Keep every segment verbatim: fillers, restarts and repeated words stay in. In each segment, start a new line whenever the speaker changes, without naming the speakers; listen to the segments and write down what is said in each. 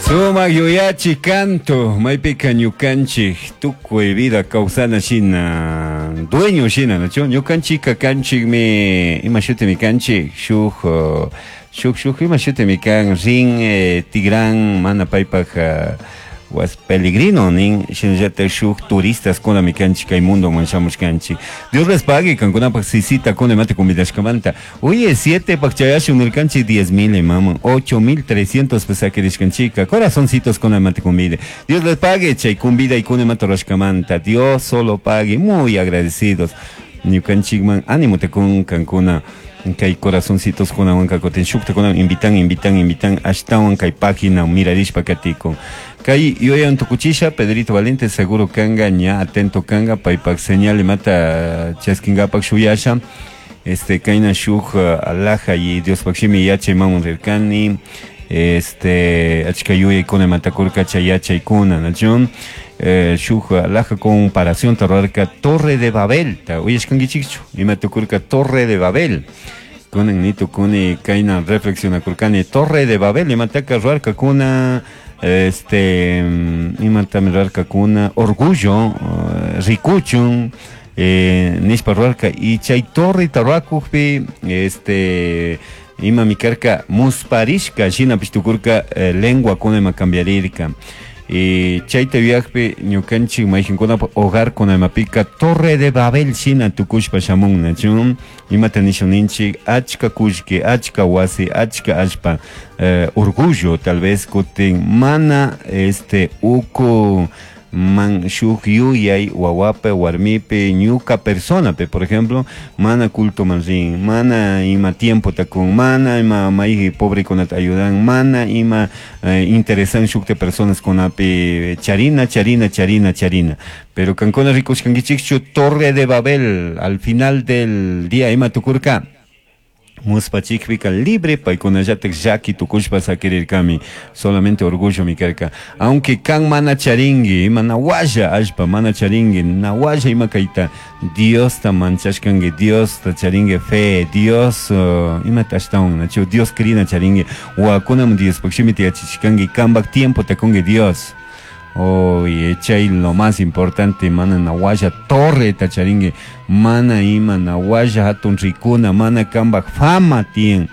Sumak yuyachi canto, maypika ñukanchik tukuy vida kawsana shina, dueño shina, nachu? Ñukanchika kanchikmi, ima shutimi kanchik, shuk, uh, shuk, shuk, ima shutimi kan, rin, eh, tigran, mana paypak, uh, was peligrino nin shinallatak shuk turistas kunami kanchik kay mundoman shamushkanchik. Dios les pague kankunapak sisita kuna imata convidashkamanta. Oye, siete pak chayashun nirkanchik diez mil imaman, ocho mil trescientos pesakirishkanchika, corazoncitos kuna imata convide. Dios les pague chay convida y kuna imata rurashkamanta. Dios solo pague, muy agradecidos. Ñukanchikman ánimo te kun kankuna kay corazoncitos kunawan kakutin shukta kunawan invitan, invitan, invitan ashtawan kay página mirarishpa katikun. Kay yuyan tukuchisha Pedrito Valiente seguro kanga ña atento kanga paypak señal imata chaskingapak shuyasha. Este kayna shuk, uh, alhaja y Diospakshimi yachay mamun rirkani. Este achka yuyaykuna imatakurka chay yachaykuna, nachun. Eh, shuk alhaja comparación rurarka Torre de Babel, ta uyashkankichikchu ima tukurka Torre de Babel. Kunan ni tukuni kayna reflexionakurkani Torre de Babel imataka rurarkakuna, este, imatami rurarkakuna orgullo, uh, rikuchun, eh, nishpa rurarka y chay torreta rurakukpi, este, imami karka musparishka shinapish tukurka, eh, lengua kuna ima cambiarirka. Y chayta yuyakpi ñukanchik mayqinkunapa hogar kunamapika Torre de Babel shina tukushpa shamun, nachun? Imata nishun ninchik achka kullki, achka wasi, achka allpa, eh, orgullo tal vez kutin mana este uku man shuk yuyay wawape warmipe ñuka personape, por ejemplo, mana culto man rin, mana ima tiempo takun, mana ima may pobre kunata ayudan, mana ima, eh, interesan shukte personas kunapi charina, charina, charina, charina. Pero kankuna rikushkankichikchu Torre de Babel al final del día ima tukurka. Muspachikpika libre paykunallatak llaki tukushpa sakirirkami, solamente orgullo mi karka. Aunque kan mana charingi, ima nawalla allpa mana charingi, nawalla ima kayta Diosta manchashkangi, Diosta charingi fe, Dios, uh, ima ashtawan, nachu Dios krina charingi, wakunam Diospuk shimita yachachishkangi, kambak tiempo takungi Dios. Oye, chay lo más importante, mana nawalla torre tacharingue, mana ima nawalla hatun rikuna, mana kambak fama tien.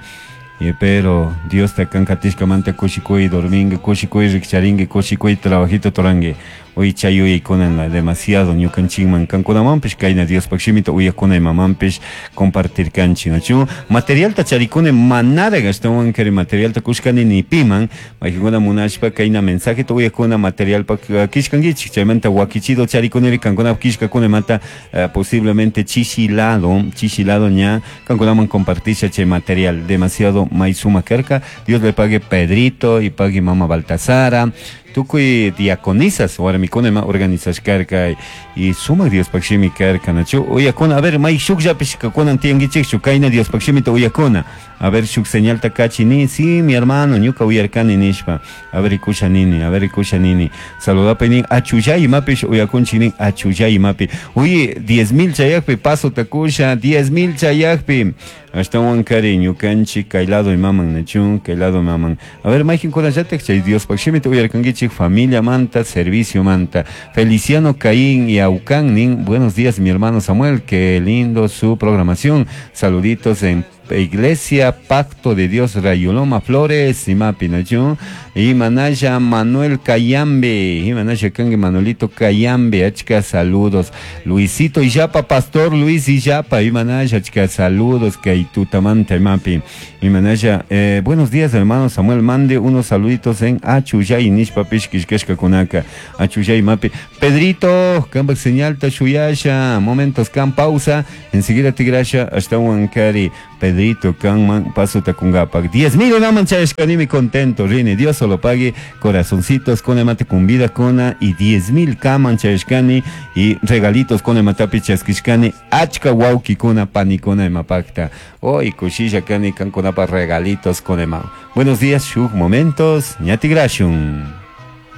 Y pero Dios te kankatishka manta kushikuy dormingue, kushikuy rikcharingue, kushikuy trabajito torangue. Hoy chayuy kunan la demasiado ñukanchikman kankunamanpish kayna Diospaq shimita uyakuna imamanpish compartir kanchik, nachu? Materialta charikune manara ashtawan kari materialta kushkani ni piman, maykikuna munashpa kayna mensajeta uyakuna materialpak, eh, kishkankichik, chaymanta wakichido charikuneri kankuna kishkakuna mata, eh, posiblemente chichilado, chichilado ña kankunaman compartisha chay material demasiado may suma karka. Dios le pague Pedrito y pague mama Baltasara, tukuy diaconisas warmikuna ima organizashkarka y sumak Diospaq shimi karka, nachu? Uyakuna, a ver, may shukllapish kunan tiyankichikchu kayna Diospaq shimita uyakuna. A ver, shuk señalta kachi ni, sí, mi hermano, ñuka uyarkani nishpa. A ver, ikusha nini, a ver, ikusha nini. Saludapa nin, achullay imapish uyakunchik nin, achullay imapi. Uy, diez mil chayakpi, paso takusha, diez mil chayakpi. Ashtawan kari ñukanchik kay lado imaman, nachu, kay lado imaman. A ver, mayqinkunallatak chay Diospaq shimita uyarkankichik, familia manta, servicio manta. Feliciano Caín y Aucán nin, buenos días mi hermano Samuel, qué lindo su programación. Saluditos en Iglesia Pacto de Dios Rayoloma Flores, Imapi, nachu? Y Manaya Manuel Cayambe, y Manaya Kangue Manuelito Cayambe, achka saludos. Luisito Illapa, Pastor Luis Illapa, y Manaya, achka saludos, Kaitutamanta, Imapi. Y Manaya, eh, buenos días hermano Samuel, mande unos saluditos en Achuyay, Nishpa Pishkishkeshka Kunaka, Achuyay, Imapi. Pedrito, Kambak señal Tashuyasha, momentos, kan pausa, enseguida tigrasha, hasta Huancari, Pedrito, Kanman, paso takungapak. Diez mil naman chayashkanimi contento, rini, Dios solo pague, corazoncitos, con mate con vida, cona, y diez mil kaman chayashkani, y regalitos con matapi chaskishkani, achka wauki kuna, panikuna emapakta. Hoy kushilla kani kankunapa regalitos con ema. Buenos días, shuk momentos, ñatigrashun.